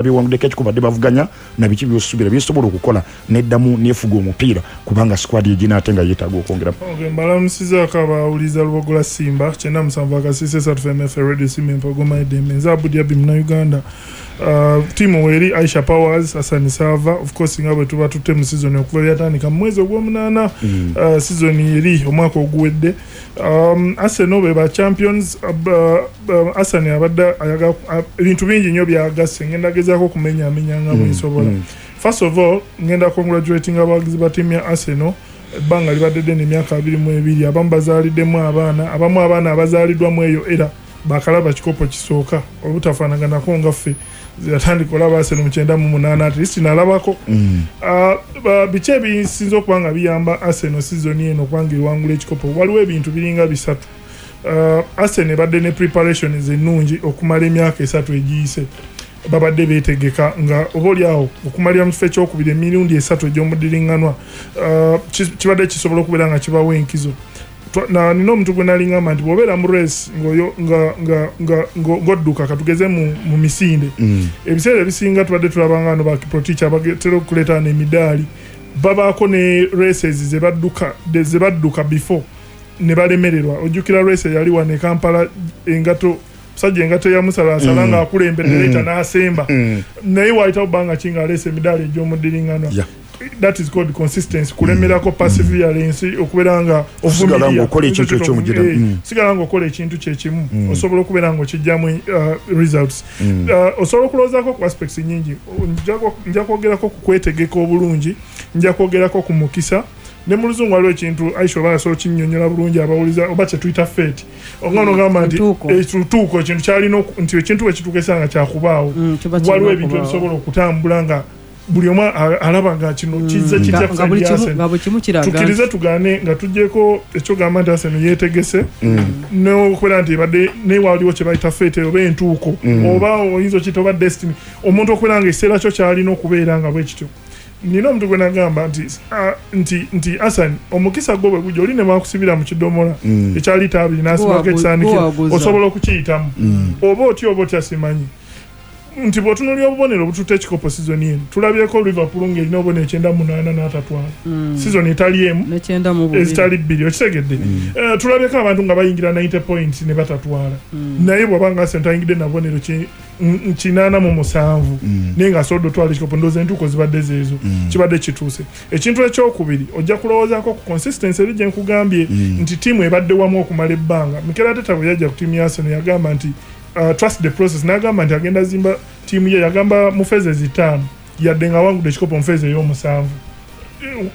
Bewanguddeko ekikopo, badde bavuganya na biki byosuubira byesobola okukola neddamu nefuga omupiira, kubanga squad egina ate nga yeetaaga okwongeramu? Okay, mbalamusizaako abawuliza Lubogola Simba 97.3 FMF Radio Simba Empogoma Edembe. Nze Abudi Abi, Munnayuganda. Tiimu weeri Aisha Powers, Hassan Sava. Of course, nga bwe tuba tutte mu season okuva byatandika mu mwezi ogw'omunaana, season eri omwaka oguwedde, Arsenal be ba champions. Arsenal abadde ayagala ebintu bingi nnyo byagasse. Ngenda gezaako okumenyaamenya nga bwe nsobola. First of all, ngenda congratulating abawagizi ba ttiimu ya Arsenal. Ebbanga libadde ddene, emyaka 22. Abamu bazaaliddemu abaana, abamu abaana abazaaliddwamu eyo era bakalaba kikopo kisooka, obutafaanaganako nga ffe yatandika olaba Arsenal mu 98, at least nalabako. Biki ebisinza okuba nga biyamba Arsenal season eno okubanga ewangula ekikopo? Waliwo ebintu biringa bisatu. Arsenal ebadde ne preparations ennungi okumala emyaka 3 egiyise. Babadde beetegeka nga oba oliawo okumalira mu kifo ekyokubiri emirundi esatu egy'omudiriŋŋanwa, kibadde kisobola okubeera nga kibawa enkizo. Nina omuntu gwe nali ngamba nti bw'obeera mu race ng'odduka, katugeze mu misinde, ebiseera ebisinga tubadde tulabanga ano ba Kiprotich abatera okuleeta emidaali, babaako ne races ze badduka before ne balemererwa. Ojjukira race eyali wano e Kampala, engato, musajja engato eyamusalasala ng'akulembedde, leeta n'asemba, naye waayitawo bbanga ki ng'aleesa emidaali egy'omudiriŋŋanwa. That is called consistency, kulemerako, perseverance, okubeera nga Osigala ng'okola ekintu ekyomugira. Sigala ng'okola ekintu kyekimu, osobola okubeera ng'okijjamu results. Osobola okulowoozaako ku aspects nyingi. Nja kwogerako ku kwetegeka obulungi, nja kwogerako ku mukisa, ne mu Luzungu waliwo ekintu, Aisha, oba asobola okinnyonnyola bulungi abawuliza, oba kye tuyita fate, nga nogamba nti Entuuko. Etuuko, ekintu kyalina nti ekintu bwe kituuka esanga kyakubaawo. Kiba kirina Waliwo ebintu okubaawo. ebisobola okutambula nga buli omu alaba nga kino kizze kitya Nga ku buli side ya Arsenal. Nga buli kimu kiraga Tukkirize tugaane, nga tuggyeko ekyogamba nti Arsenal yeetegese n'okubeera nti ebadde, naye waliwo kye bayita fate oba entuuko, oba oyinza okiyita oba destiny, omuntu okubeera nga ekiseera kyo kyalina okubeera nga bwe kityo. Nina omuntu gwe nagamba nti nti Asan, omukisa gwo bwe gujja, oli ne bakusibira mu kidomola ekya lita 20 n'asibako ekisaanikira, Guwaguza. osobola okukiyitamu oba otya oba otya. Simanyi nti bw'otunuulira obubonero obututte ekikopo sizoni eno, tulabyeko Liverpool ng'erina obubonero 98 n'atatwala sizoni etali emu, ne 92. Ezitali bbiri, okitegedde? Tulabyeko abantu nga bayingira 90 points ne batatwala, naye bw'aba nga Arsenal tayingidde na bubonero 87, naye ng'asobodde otwala ekikopo, ndowooza entuuko zibadde zeezo, kibadde kituuse. Ekintu ekyokubiri, ojja kulowoozaako ku consistency eri gye nkugambye nti ttiimu ebadde wamu okumala ebbanga. Mikel Arteta bwe yajja ku ttiimu ya Arsenal yagamba nti trust the process, n'agamba nti agenda zimba ttiimu ye. Yagamba mu phases 5, yadde nga awangudde ekikopo mu phase ey'omusanvu.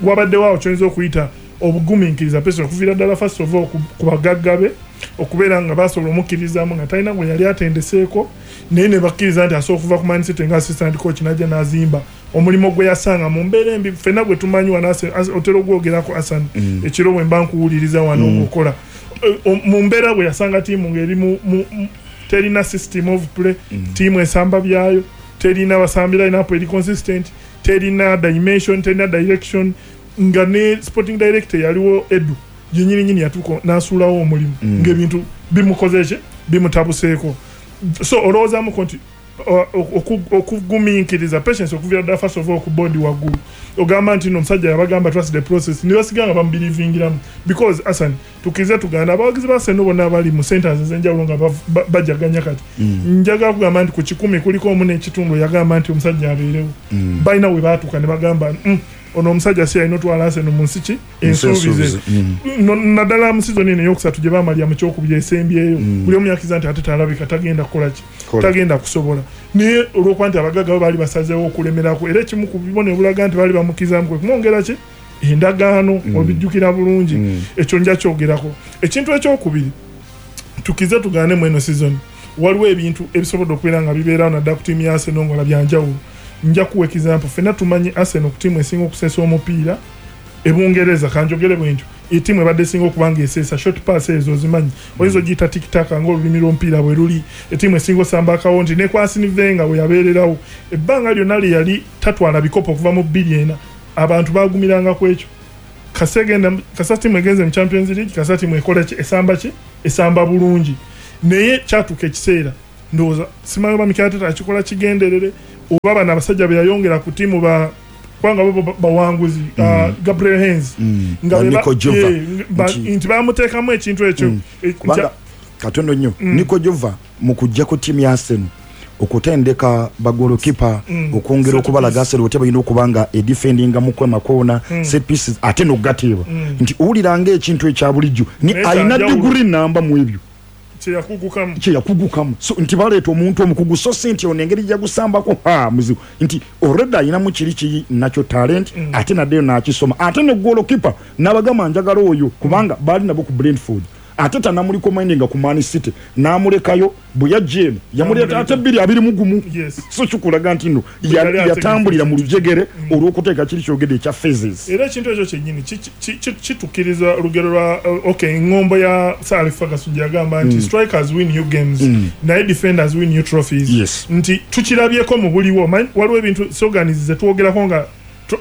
Wabaddewo awo kyoyinza okuyita obugumiikiriza, pesa, okuviira ddala first of all ku bagagga be okubeera nga basobola omukkirizaamu nga talina gwe yali atendeseeko, naye ne bakkiriza nti asobola okuva ku Man City nga assistant coach n'ajja n'azimba omulimu gwe yasanga mu mbeera embi. Ffenna gwe tumanyi wano, otera ogwogerako, Asan, ekiro bwe mba nkuwuliriza wano ng'okola. Mu mbeera bwe yasanga ttiimu ng'eri terina system of play, ttiimu esamba byayo, terina basambi line-up eri consistent, terina dimension, terina direction, nga ne sporting director yaliwo Edu yenyini nyini yatuuka n'asuulawo omulimu, ng'ebintu bimukoze ki, bimutabuseeko. So olowoozamuko nti okugumiikiriza, patience, okuviira ddala first of all ku board waggulu, ogamba nti no omusajja yabagamba trust the process, ne basiga nga bamubelivingiramu, because Asan, tukkirize tuganda, abawagizi ba Arsenal bonna abali mu centers ez'enjawulo nga bajaganya kati, njagala kugamba nti ku 100 kuliko omu n'ekitundu yagamba nti omusajja abeerewo. Balina we baatuuka ne bagamba, ono omusajja si alina otwala Arsenal mu nsi ki ensuubize." Naddala mu sizoni eno eyokusatu gye bamalya mu kyokubiri esembyeyo, buli omu yakkiriza nti ate talabika tagenda kukola ki, Kola. Tagenda kusobola, naye olwokuba nti abagagga bo baali basazeewo okulemerako, era ekimu ku bibonero obulaga nti baali bamukkirizamu kwe kumwongera ki endagaano, obijjukira bulungi. Ekyo nja kyogerako. Ekintu ekyokubiri, tukize tugaane, mu eno season waliwo ebintu ebisobodde okubeera nga bibeerawo naddala ku ttiimu ya Arsenal nga byanjawulo. Nja kuwa example. Ffenna tumanyi Arsenal ku ttiimu esinga okuseesa omupiira ebungereza, kanjogere bwe ntyo, ettiimu ebadde esinga okuba nga eseesa short pass ezo ozimanyi, oyinza ogiyita tiki-taka ng'olulimi lw'omupiira bwe luli, ettiimu esinga osamba akawo nti ne ku Arsene Wenger bwe yabeererawo ebbanga lyonna lye yali tatwala bikopo okuva mu 2004, abantu bagumiranga ku ekyo. Kasegenda kasa ttiimu egenze mu Champions League, kasa ttiimu ekola ki, esamba ki, esamba bulungi, naye kyatuuka ekiseera, ndowooza simanyi oba Mikel Arteta akikola kigenderere. Oba bano abasajja be yayongera ku tiimu ba kubanga bo bawanguzi, Gabriel Heinze, nga Ba Nico Jover. Nti bamuteekamu ekintu ekyo. Kubanga katono nnyo, Nico Jover mu kujja ku ttiimu ya Arsenal okutendeka bagolokipa, okwongera Set okubalaga piece. Arsenal otya balina okuba nga edefendinga mu kwemakoona, set pieces, ate n'okugateeba, nti owulira ng'ekintu ekya bulijjo ni Naye alina kyanjawulo. Diguri namba mu ebyo Kyeyakugukamu. Kyeyakugukamu. So nti baleeta omuntu omukugu, so si nti ono engeri gyagusambako ha muzibu, nti already ayinamu kiri kiri nakyo talent, ate naddeyo n'akisoma, ate ne golokipa n'abagamba njagala oyo, kubanga baali nabo ku Brentford, ate tanamurecommendinga ku Man City, n'amulekayo. Bwe yajja eno yamuleeta ate 2021. So kikulaga nti nno Bwe yali yatambulira mu ategeka. lujegere olw'okuteeka kiri kyogedde ekya phases. Era ekintu ekyo kyennyini kitukkiriza olugero lwa okay, eŋŋombo ya Sir Alex Ferguson gye yagamba nti strikers win you games, naye defenders win you trophies. Nti tukirabyeko mu buliwo. Waliwo ebintu slogans ze twogerako nga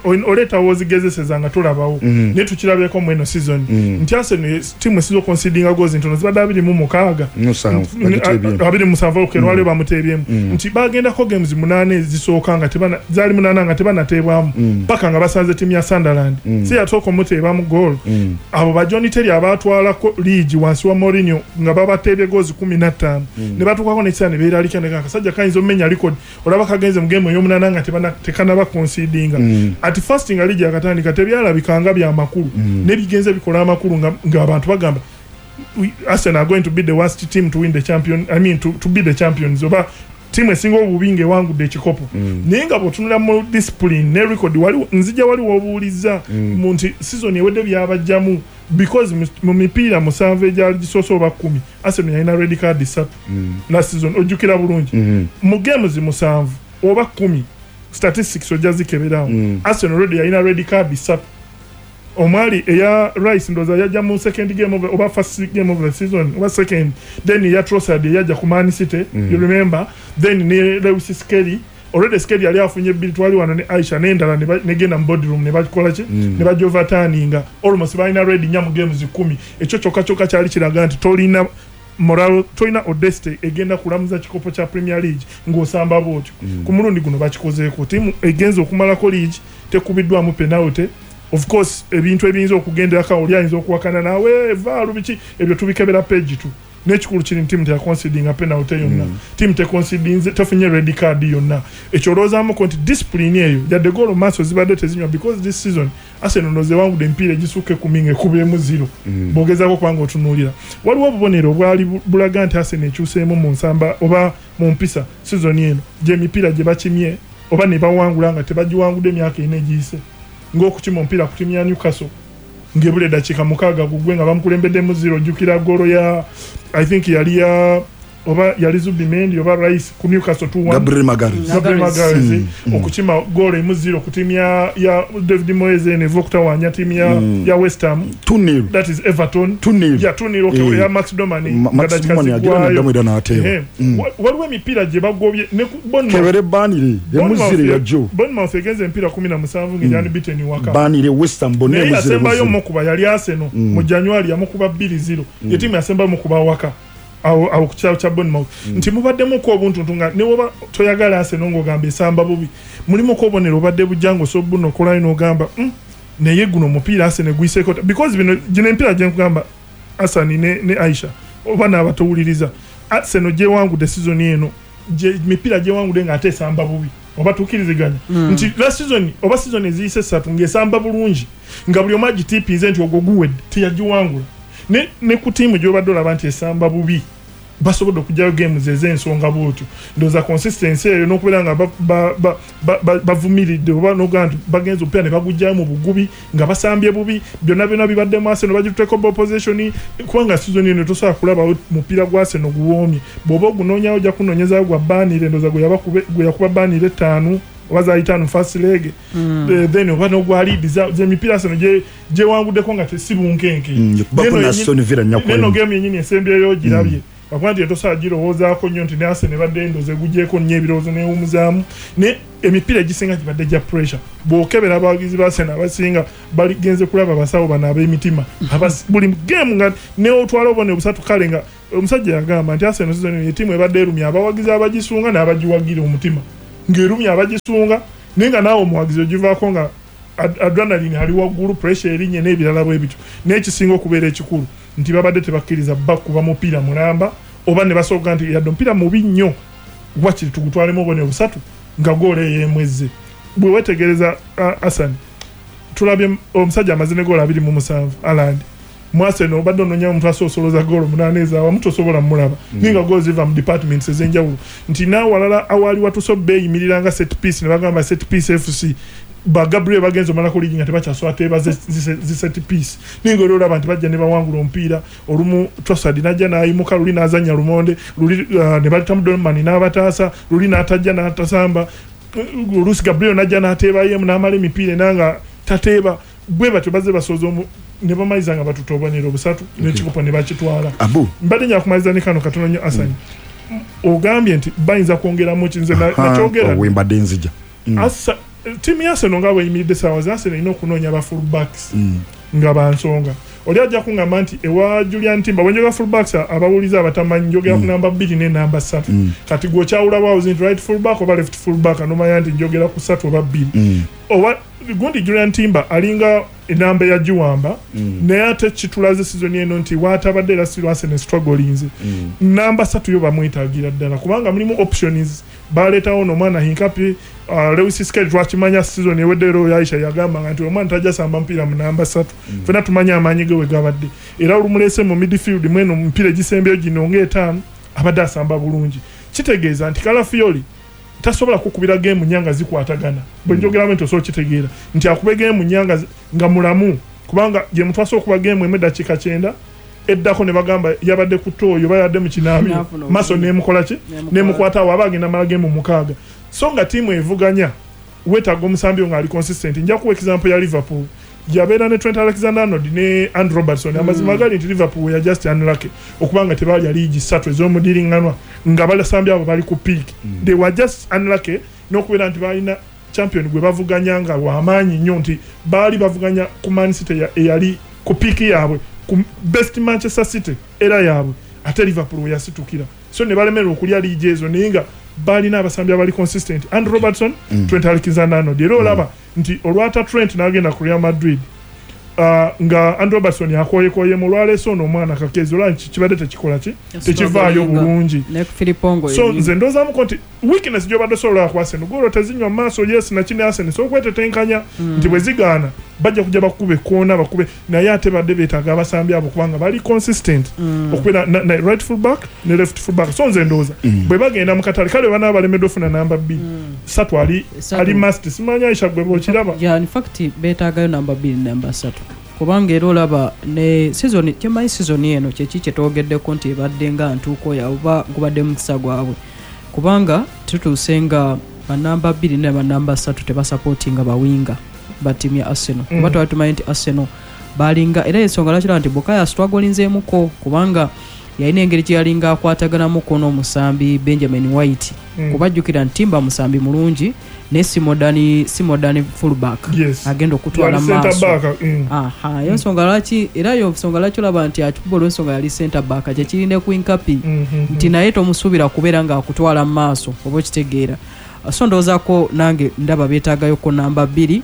oleetawo ozigezeseza nga tolabawo, naye tukirabyeko mu eno season nti Arsenal tiimu esinza oconcedinga goals ntono, zibadde 26. 7, bagiteebyemu. 27, okay, lwaliwo bamuteebyemu. Nti bagendako games 8 ezisooka nga zaali 8 nga tebanateebwamu, paka nga basanze tiimu ya Sunderland, si yasooka omuteebamu goal. Abo ba John Terry abatwalako league wansi wa Mourinho nga babateebye goals 15, ne batuukako n'ekiseera ne beeralika, ne akasajja kayinza omenya record, olaba kagenze mu game ey'omunaana nga tekanaba concedinga. At first nga liigi yakatandika tebyalabika nga bya makulu, ne bigenze bikola amakulu ng'abantu bagamba Arsenal are going to be the worst team to win the champion, I mean to be the champions, oba tiimu esinga obubi ng'ewangudde ekikopo. Naye nga bw'otunula mu discipline ne record, waliwo nzija waliwo obuuliza mu nti season ewedde byabajjamu, because mu mipiira 7 egyali gisoose oba 10, Arsenal yalina red card 3 last season, ojjukira bulungi. Mu games 7 oba 10, statistics ojja zikeberawo, Arsenal already yalina red card 3, omwali eya Rice, ndowooza yajja mu second game of, oba first game of the season oba second, then eya Trossard eyajja ku Man City, you remember, then ne Lewis Skelly. Already Skelly yali afunye 2, twali wano ne Aisha, n'endala negenda mu boardroom ne bakola ki, ne bajoverturninga. Almost balina red 4 mu games 10. Ekyo kyokka kyokka kyali kiraga nti tolina moral, tolina audacity egenda kulamuza kikopo kya Premier League ng'osamba bwotyo. Ku mulundi guno bakikozeeko, tiimu egenza okumalako league tekubiddwamu penalty. Of course ebintu ebiyinza okugenderako, oli ayinza okuwakana naawe VAR biki ebyo, tubikebera page 2. N'ekikulu kiri nti tiimu teyaconcedinga penalty yonna, tiimu teconcedinze, tefunye red card yonna. Ekyo olowoozamuko nti discipline eyo, yadde goolo maaso zibadde tezinywa, because this season Arsenal ndowooza ewangudde emipiira egisukka 10 ng'ekubyemu 0. Bw'ogezaako kubanga otunuulira, waliwo obubonero obwali bulaga nti Arsenal ekyuseemu mu nsamba oba mu mpisa season eno, gy'emipiira gye bakimye oba ne bawangula nga tebagiwangudde emyaka 4 egiyise, ng'okukima omupiira ku ttiimu ya Newcastle ng'ebula eddakiika 6 gugwe nga bamukulembeddemu 0. Ojjukira goolo ya, I think yali ya, oba yali Zubimendi oba Rice ku Newcastle 2-1. Gabriel Magalhaes. Gabriel Magalhaes, okukima goolo 1-0 ku ttiimu ya David Moyes eno eva okutawaanya ttiimu ya West Ham. 2-0. That is Everton. 2-0. Yeah, 2-0, okay, ya Max Dowman. Max nga dakika Dowman agira ziggwayo. naddamu era n'ateeba. Waliwo emipiira gye bagobye ne ku Bournemouth. Kebere Burnley, 1-0 ya Joe. Bournemouth egenze emipiira 17 ng'eri unbeaten waka. Burnley, West Ham bonna Naye 1-0, yasembayo 1-0. mukuba yali Arsenal mu January, yamukuba 2-0. Ye ttiimu yasembayo mukuba waka awo ku kyalo kya Bournemouth. Nti mubaddemuko obuntuntu nga ne woba toyagala Arsenal ng'ogamba esamba bubi, mulimuko obubonero obadde bujja ng'osobola bunokolayo n'ogamba, naye guno omupiira Arsenal guyiseeko because bino gino emipiira gye nkugamba, Hassan ne Aisha oba n'abatowuliriza, Arsenal gyewangudde season eno, gye mipiira gyewangudde ng'ate esamba bubi, oba tukkiriziganya nti last season oba season eziyise 3 ng'esamba bulungi nga buli omu agitiipinze nti ogwo guwedde, teyagiwangula. Ne ku ttiimu gy'obadde olaba nti esamba bubi basobodde okuggyayo games ez'ensonga bwotyo. Ndowooza consistency eyo n'okubeera nga bavumiridde oba n'ogamba nti bagenze omupiira ne baguggyayo mu bugubi nga basambye bubi, byonna byonna bibaddemu. Arsenal bagituteeko ball possession, kubanga season eno tosobola kulabawo mupiira gwa Arsenal guwoomye. Bw'oba ogunoonyawo ojja kunoonyezaayo gwa Burnley, ndowooza gwe yakuba Burnley 5 oba zaali 5 first leg. Then oba n'ogwa Leeds, z'emipiira Arsenal gyewanguddeko nga tesi bunkenke. Yakubako Neno na Aston Villa nnya ku neno emu. game yennyini esembyeyo ogirabye. Bakuba nti tosobola girowoozaako nnyo nti ne Arsenal ebadde ndowooza egugyeko nnyo ebirowoozo n'ewummuzaamu, ne emipiira egisinga gibadde gya pressure. Bw'okebera abawagizi ba Arsenal abasinga baligenze kulaba abasawo bano ab'emitima. Buli game nga ne otwala obubonero busatu, kale nga omusajja yagamba nti Arsenal season eno ye ttiimu ebadde erumya abawagizi abagisunga n'abagiwagira omutima. Ng'erumya abagisunga, naye nga naawe omuwagizi ogivaako nga adrenaline ali waggulu, pressure erinye n'ebirala bwe bityo. Naye ekisinga okubeera ekikulu nti babadde tebakkiriza bakuba mupiira mulamba, oba ne basooka nti yadde omupiira mubi nnyo, wakiri tugutwalemu obubonero busatu nga goolo ey'emwezze. Bwe weetegereza, Hassan, tulabye omusajja amaze ne goolo 27, Haaland. Mu Arsenal obadde onoonya omuntu asoosoloza goolo 8 ezaawamu, tosobola mulaba, naye nga goolo ziva mu departments ez'enjawulo, nti n'awalala awaali watuuse beeyimirira nga set piece, ne bagamba set piece FC ba Gabriel bagenze omalako liigi nga tebakyasobola teeba zi set piece, naye nga oli olaba nti bajja ne bawangula omupiira. Olumu Trossard najja n'ayimuka, luli n'azannya lumonde luli, ne baletamu Dowman n'abataasa, luli n'atajja n'atasamba, oluusi Gabriel najja n'ateebayemu n'amala emipiira ena nga tateeba. Bwe batyo bazze basooza ne bamaliza nga batuta obubonero busatu n'ekikopo ne bakitwala. Abu. Mbadde nja kumaliza ne kano katono nnyo, Asani. Ogambye nti bayinza kwongeramu ki? Nze nakyogera. Wembadde nzija. Ttiimu ya Arsenal nga bweyimiridde essaawa za Arsenal, erina okunoonya ba full backs nga bansonga. Oli ajja kuŋŋamba nti ewa Julian Timber, bwe njogera full backs, abawuliza abatamanyi, njogera ku namba 2 ne namba 3. Kati gwe okyawula bwawuzi nti right full back oba left full back, nomanya nti njogera ku 3 oba 2. Oba gundi Julian Timber alinga enamba eyagiwamba, naye ate kitulaze season eno nti waatabadde era still Arsenal strugglinze. Namba 3 yo bamwetaagira ddala, kubanga mulimu options. Baleetawo n'omwana Hincapié, Lewis Skelly twakimanya season ewedde, era Aisha yagamba nti omwana tajja samba mupiira mu namba 3. Ffenna tumanyi amaanyi ge we gabadde, era olumuleese mu midfield mweno mupiira egisembyeyo gino ng'etaano abadde asamba bulungi. Kitegeeza nti Calafiori tasobola kukubira game nnya nga zikwatagana. Bwe njogeramu nti osobola okitegeera nti akube game nnya nga mulamu, kubanga gye mutwasa okuba game emu eddakiika 90 eddako ne bagamba yabadde ku ttooyi oba yabadde mu kinaabiro, N'afuna maso obulumi. nemukola ki? Nemukwata. Nemukwata awo aba agenda mala game 6. So nga ttiimu evuganya weetaaga omusambi nga ali consistent. Nja kuwa example ya Liverpool, yabeera ne Trent Alexander Arnold ne Andrew Robertson. Amazima gali nti Liverpool were just unlucky okuba nga tebalya liigi ssatu ez'omudiriŋŋanwa nga basambi abo bali ku peak. They were just unlucky n'okubeera nti balina champion gwe bavuganya nga wamaanyi nnyo, nti baali bavuganya ku Man City eyali ku peak yaabwe, ku best Manchester City era yaabwe, ate Liverpool we yasitukira, so ne balemererwa okulya liigi ezo, naye nga balina abasambi abali consistent, Andrew Robertson, Trent Alexander Arnold. Era olaba nti olwata Trent n'agenda ku Real Madrid, nga Andrew Robertson akoyekoyemu, olwaleese ono omwana Kerkez, olaba nti kibadde tekikola ki, tekivaayo bulungi. Ne Filipongo. So nze ndowoozamuko nti weakness gyobadde osobola ku Arsenal, goolo tezinywa mu maaso, yes, nakini Arsenal so okwetetenkanya nti bwe zigaana bajja kujja bakube koona bakube, naye ate badde beetaaga abasambi abo kubanga bali consistent okubeera na right full back ne left full back. So nze ndowooza bwe bagenda mu katale, kale banaaba balemeddwa ofuna namba 2, 3 ali Ssatu. Ali must. Simanyi Aisha gwe bwokiraba. Yeah, in fact beetaagayo namba 2, namba 3, kubanga era olaba ne season, kyemanyi season eno kyeki kyetwogeddeko nti ebadde nga ntuuko yaabwe oba gubadde mukisa gwabwe, kubanga tutuuse nga banamba 2 ne banamba 3 tebasapootinga bawinga ba ttiimu ya Arsenal, kuba twali tumanyi nti Arsenal balinga, era ensonga lwaki olaba nti Bukayo astrugglinzeemuko, kubanga yalina engeri gye yalinga akwataganamuko n'omusambi Benjamin White, kubajjukira nti Timber musambi mulungi, naye si modern fullback agenda okutwala Yali center maaso. back. Aha, yo nsonga lwaki, era yo nsonga lwaki olaba nti akikuba olw'ensonga yali center back, kyekirina ku Hincapié nti naye tomusuubira kubeera ng'akutwala mu maaso oba okitegeera. So ndowoozaako nange ndaba beetaagayoko namba 2.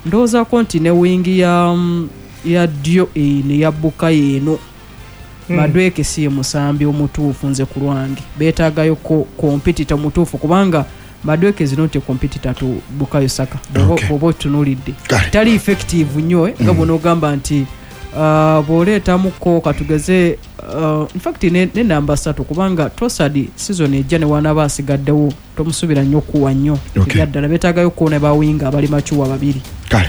Ndowoozaako nti ne wingi ya ddyo eno eya Bukayo eno, Madueke si ye musambi omutuufu. Nze ku lwange beetaagayoko competitor mutuufu, kubanga Madueke is not a competitor to Bukayo Saka. Bw'oba otunuulidde tali effective nnyo, nga bw'onoogamba nti bw'oleetamuko katugeze, in fact ne namba 3, kubanga Trossard season ejja ne wanaaba asigaddewo tomusuubira nnyo kuwa nnyo. Ebyaddala beetaagayo ne bawinga abali mature babiri. Kale,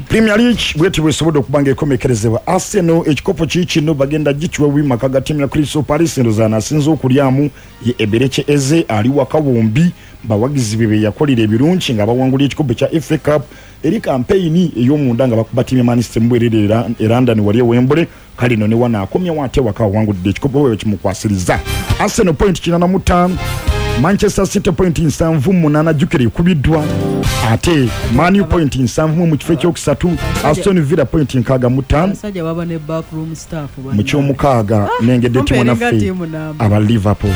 Premier League bweti bwesobodde okuba nga ekomekerezebwa. Arsenal ekikopo kiikino bagenda gikiwa wimaka ga ttiimu ya Crystal Palace. Endozaana asinze okulyamu ye Eberechi Eze, ali waka bombi bawagizi be beyakolera ebirungi nga bawangula ekikopo kya FA Cup eri kampeyini ey'omunda nga bakuba ttiimu ya Man City mubwerere e London wali e Wembley. Kale no ne wano akomyewo ate waka awangudde ekikopo bwe kimukwasiriza. Arsenal point 85, Manchester City point 78, jjukira ekubiddwa, ate Man U point 70 mu kifo ekyokusatu, Aston Villa point 65. Abasajja baba ne backroom staff. Mu kyomukaaga nengedde ttiimu Kumbe naffe eringa ttiimu namba. aba Liverpool.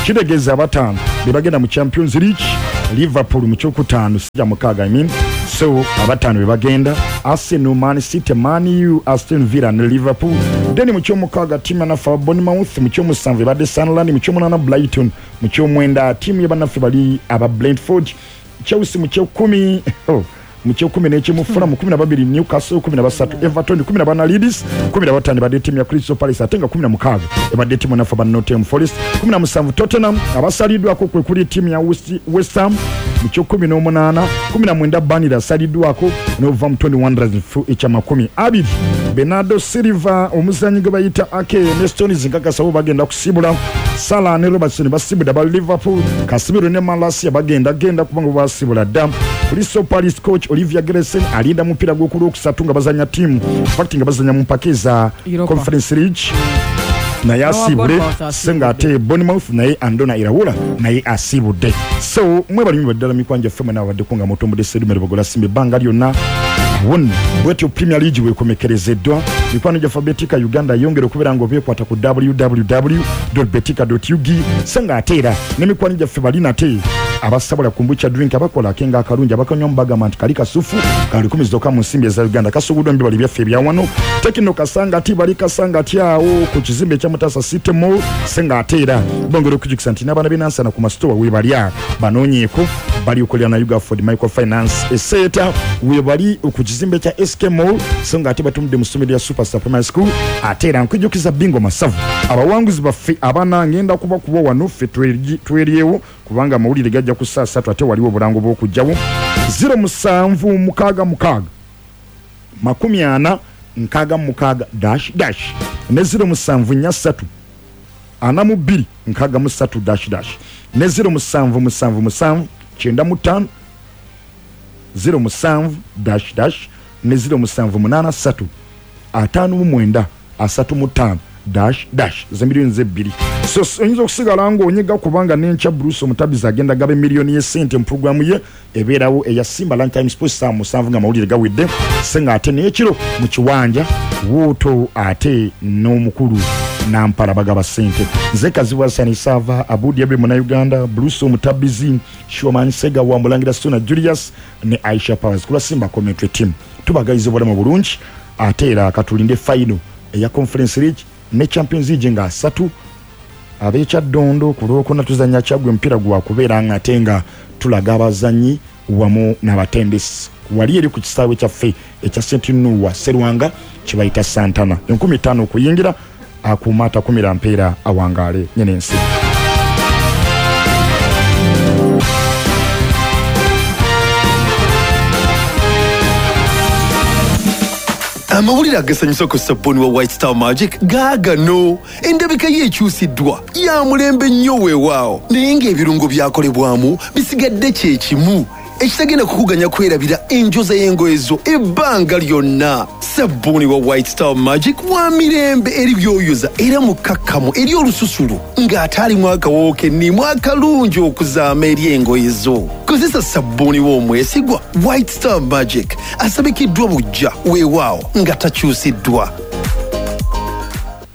Kitegeeza abataano be bagenda mu Champions League. Liverpool mu kyokutaano, sija mukaaga, I mean. So abataano be bagenda: Arsenal, Man City, Man U, Aston Villa ne Liverpool. Then mu kyomukaaga ttiimu yanaffe aba Bournemouth, mu kyomusanvu ebadde Sunderland, mu kyomunaana Brighton, mu kyomwenda ttiimu yabannaffe bali aba Brentford, Chelsea mu kyekumi, oh, mu kyekumi n'ekimu Fulham, 12 Newcastle, 13 Everton, 14 Leeds, 15 ebadde ttiimu ya Crystal Palace, ate nga 16 ebadde ttiimu naffe aba Nottingham Forest, 17 Tottenham. Abasaliddwako kwe kuli ttiimu ya West Ham mu kyo-18, 19 Burnley asaliddwako, ne Wolverhampton Wanderers ekya-20. Bernardo Silva, omuzanyi gwe bayita Ake ne Stones nkakasa bo bagenda kusibula. Salah ne Robertson basibudde aba Liverpool. Casemiro ne Malacia bagenda genda kubanga basibula dda. Crystal Palace coach Olivier Geresen alinda mupiira gw'okulwokusatu nga bazanya ttiimu, fact nga bazanya mu mpaka eza Europa. Conference League, naye Noah asibule. Bournemouth. So nga ate Bournemouth naye Andona Irawula naye asibudde. So mwebalimu baddala mikwano gyaffe mwena abaddeko nga mutumbudde Sedume Lubogola Simba ebbanga lyonna wonna. Bwetyo Premier League wekomekerezeddwa. Mikwano gyaffe, Betika Uganda yongera okubeera nga obyekwata ku www betika ug. So nga ate era n'emikwano gyaffe bali nate abasobola kombucha drink, abakola akenga akalungi, abakanywamu bagamba nti kali kasufu ka 10,000 zokka mu nsimbi eza Uganda, kasubuddwa mu bibali byaffe ebyawano Tekino Kasanga ti bali Kasanga ti awo ku kizimbe ekya Mutasa City Mall. Se nga ate era bongera okujukisa nti n'abaana b'enansana ku masitowa webalya banoonyeeko, bali okolera na Ugaford Microfinance Eseeta, webali ku kizimbe kya SK Mall. So nga ate batumudde mu ssomero lya Superstar Primary School. Ate era nkujjukiza bingo masavu, abawanguzi baffe abana ngenda kubakuba wano ffe tweryewo kubanga amawulire gajja ku saa 3, ate waliwo obulango bw'okugjawo. 0766 40 66 dash dash ne 0743 42 63 dash dash ne 0777 95 07 dash dash ne 0783 59 35 dash dash, ze miliyoni zebbiri. So oyinza okusigala ng'onyiga kubanga n'enkya Bruce Omutabizi agenda gaba emiliyoni y'essente mu puroguramu ye ebeerawo eya Simba Lunchtime Sports saa 7 nga amawulire gawedde. Se nga ate n'ekiro mu kiwanja wuuto ate n'omukulu Nampala bagaba ssente. Nze Kazibwa Sani Sava Abudi Abe Munauganda, Bruce Omutabizi, Shoman Sega wa Mulangira, Suna Julius ne Aisha Powers kulwa Simba commentary team, tubagaliza obulamu bulungi. Ate era katulinde final eya Conference League ne Champions League nga 3 ab'ekyaddondo ku Lwokuna tuzanya Kyaggwe, omupiira gwakubeera nga ate nga tulaga abazanyi wamu n'abatendesi wali eri ku kisaawe kyaffe ekya St Nuwa Serwanga kibayita Santana, 5,000 okuyingira. Akuuma atakumira mpeera awangaale nyene ensi. Amawulire agasanyusa ku sabbuuni wa White Star Magic gaagano. Endabika ye ekyusiddwa, ya mulembe nnyo weewaawo, naye ng'ebirungo byakolebwamu bisigadde kye kimu, ekitagenda kukuganya kwerabira enjoza y'engoye zo ebbanga lyonna. Sabbuuni wa White Star Magic wa mirembe eri byoyoza era mukkakkamu eri olususu ng'ate alimu akawoowo kennimu akalungi okuzaama eri engoye zo. Kozesa sabbuuni w'omwesigwa White Star Magic, asabikiddwa bujja weewaawo nga takyusiddwa.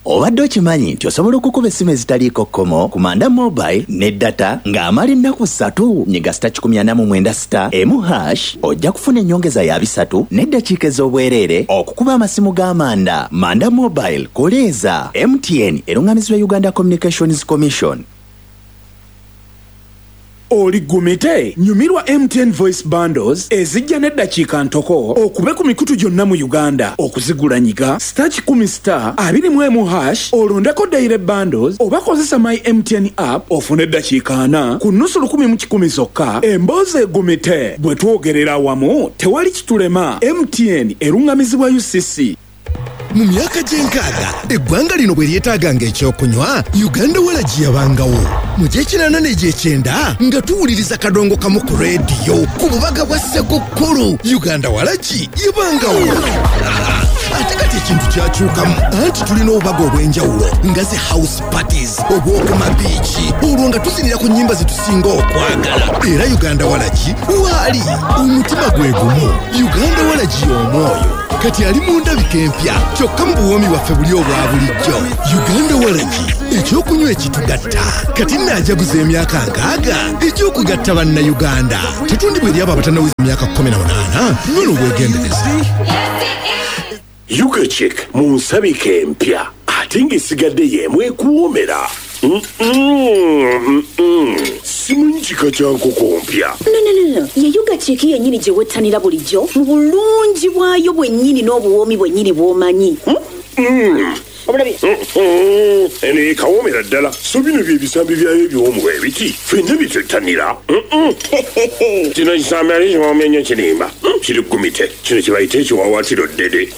Obadde okimanyi nti osobola okukuba essimu ezitaliiko kkomo ku Manda Mobile ne data ng'amala ennaku 3? Nyiga star 149 star 1 hash, ojja kufuna ennyongeza ya 300 n'eddakiika ez'obwereere okukuba amasimu g'amanda. Manda Mobile, koleeza. MTN eruŋŋamizibwa Uganda Communications Commission. Oli gumite, nyumirwa MTN Voice Bundles ezijja n'eddakiika ntoko okube ku mikutu gyonna mu Uganda. Okuzigula nyiga star 1 star 21 hash, olondeko daily bundles oba kozesa My MTN app ofune eddakiika 40 ku nusu 1,100 zokka. Emboozi egumite, bwe twogerera awamu tewali kitulema. MTN eruŋŋamizibwa UCC. Mu myaka gy'enkaaga eggwanga lino bwe lyetaaganga ekyokunywa, Uganda Walagi yabangawo. Mu gy'ekinaana n'egy'ekyenda nga tuwuliriza kadongo kamu ku rediyo ku bubaga bwa Sekukkulu, Uganda Walagi yabangawo. Ate kati ekintu kyakyukamu, anti tulina obubaga obw'enjawulo nga zi house parties, obw'okumabiiki, olwo nga tuzinira ku nnyimba zetusinga okwagala. Era Uganda Walagi waali omutima gwe gumu. Uganda Walagi y'omwoyo. Kati ali mu ndabika empya, kyokka mu buwoomi bwaffe buli obwa bulijjo. Uganda Waragi, ekyokunywa ekitugatta. Kati nnaajaguza emyaka 60 egy'okugatta bannayuganda. Tetundibwa eri abo abatannaweza emyaka 18. Nywa n'obwegendereza. Ugachik mu nsabika empya ate ng'esigadde y'emu ekuwoomera. Simanyi kika kya nkoko mpya. No, no, no, no. Ye Ugachik yennyini gye wettanira bulijjo mu bulungi bwayo bwennyini n'obuwoomi bwennyini bw'omanyi. Eno ekawoomera ddala. So bino bye bisambi byayo ebiwoomu ebiti ffenna byetwettanira. Kino kisambi ate kiwoomya nnyo kirimba. Kiri gumite. Kino kye bayita ekiwaawaatiro ddede.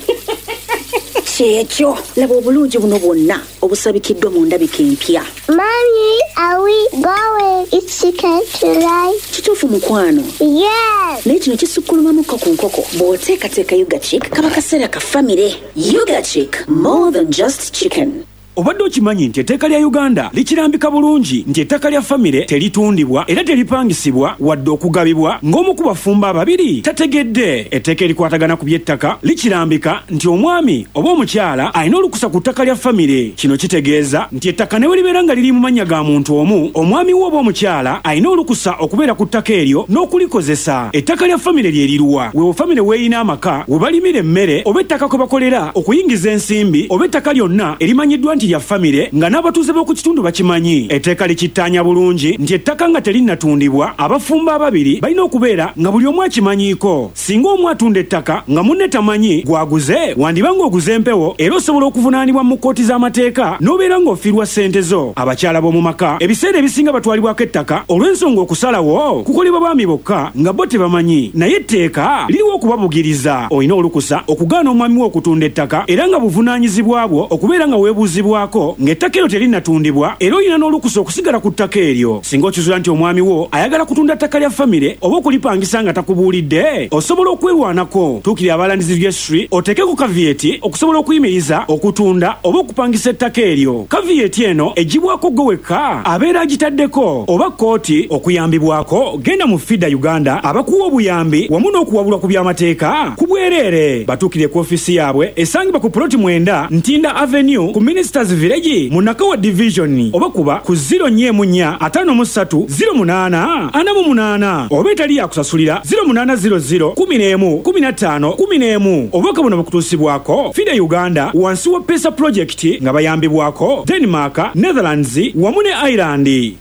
Kyekyo, laba obulungi buno bwonna obusabikiddwa mu ndabika empya. Mommy, are we going eat chicken tonight? Kituufu mukwano. Yes. Naye kino kisukkulumamuko ku nkoko. Bw'oteekateeka Ugachik kaba kaseera ka famire. Ugachik, more than just chicken. Obadde okimanyi nti etteeka lya Uganda likirambika bulungi nti ettaka lya famire teritundibwa era teripangisibwa wadde okugabibwa ng'omu ku bafumbo ababiri tategedde. Etteeka erikwatagana ku by'ettaka likirambika nti omwami oba omukyala alina olukusa ku ttaka lya famire. Kino kitegeeza nti ettaka ne bwe libeera nga liri mu mannya ga muntu omu, omwami we oba omukyala alina olukusa okubeera ku ttaka eryo n'okulikozesa. Ettaka lya famire lye liruwa? Weewo famire weerina amaka, we balimira emmere oba ettaka kwe bakolera okuyingiza ensimbi oba ettaka lyonna erimanyiddwa nti lya famire nga n'abatuuze b'oku kitundu bakimanyi. Etteeka likittaanya bulungi nti ettaka nga terinnatundibwa, abafumbo ababiri balina okubeera nga buli omu akimanyiiko. Singa omu atunda ettaka nga munne tamanyi gwaguze, wandiba ng'oguze empewo era osobola okuvunaanibwa mu kkooti z'amateeka n'obeera ng'ofiirwa ssente zo. Abakyala b'omu maka ebiseera ebisinga batwalibwako ettaka olw'ensonga okusalawo kukolebwa baami bokka nga bo tebamanyi, naye etteeka liriwo okubabugiriza. Olina olukusa okugaana omwami wo okutunda ettaka era nga buvunaanyizibwa bwo okubeera nga weebuuzibwako ng'ettaka eryo terinnatundibwa, era olina n'olukusa okusigala ku ttaka eryo. Singa okizula nti omwami wo ayagala kutunda ttaka lya famire oba okulipangisa nga takubuulidde, osobola okwerwanako. Tuukirira aba Lands Registry oteekeko caveat okusobola okuyimiriza okutunda oba okupangisa ettaka eryo. Caveat eno eggyibwako ggwe wekka abeera agitaddeko oba kkooti. Okuyambibwako genda mu FIDA Uganda abakuwa obuyambi wamu n'okuwabulwa ku by'amateeka ku bwereere. Batuukire ku ofiisi yaabwe esangibwa ku ploti 9 Ntinda Avenue ku Ministers Village mu Nakawa Division oba kuba ku 044 53 08 48 oba etali yakusasulira 0800 11 15 11. Obubaka buno bukutuusibwako FIDA Uganda wansi wa PESA Project nga bayambibwako Denmark, Netherlands wamu ne Ireland.